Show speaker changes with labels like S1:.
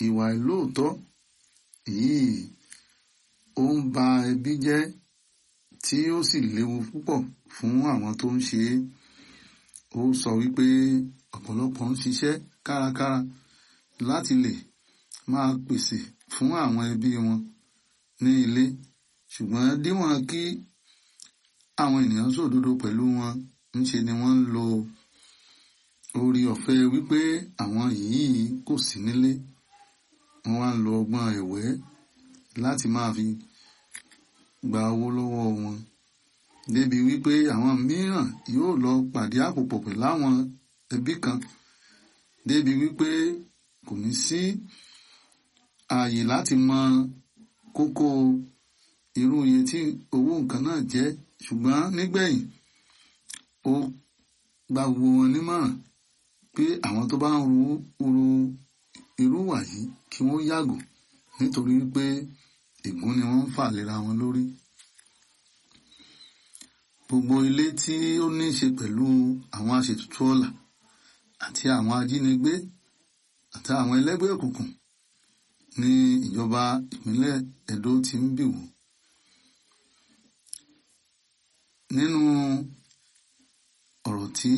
S1: Ìwà ìlóòótọ́ yìí ó ń ba ẹbí jẹ́ tí ó sì léwu púpọ̀ fún àwọn tó ń ṣe é. Ó sọ wípé ọ̀pọ̀lọpọ̀ ń ṣiṣẹ́ kárakára láti lè máa pèsè fún àwọn ẹbí wọn ní ilé, ṣùgbọ́n díwọ̀n kí àwọn ènìyàn ṣòdodo pẹ̀lú wọn, ńṣe ni wọ́n ń lo oore ọ̀fẹ́ wípé àwọn yìí kò sí nílé. Wọ́n wá ń lo ọgbọ́n ẹ̀wẹ́ láti máa fi gba owó lọ́wọ́ wọn. Débi wípé àwọn mìíràn yóò lọ pàdé àpòpọ̀ pẹ̀lú àwọn ẹbí kan. Débi wípé kò ní sí ààyè láti mọ kókó irú iye tí owó nǹkan náà jẹ́. Ṣùgbọ́n nígbẹ̀yìn, ó gba gbogbo wọn nímọ̀ràn pé àwọn tó bá ń ru irú ìwà yìí kí wọ́n yàgò nítorí wípé ègún ni wọ́n ń fà léra wọn lórí. Gbogbo ilé tí ó ní ṣe pẹ̀lú àwọn aṣètùtù ọlà àti àwọn ajínigbé àti àwọn ẹlẹ́gbẹ́ òkùnkùn ní ìjọba ìpínlẹ̀ Ẹdó ti ń bì wò. Nínú ọ̀rọ̀ tí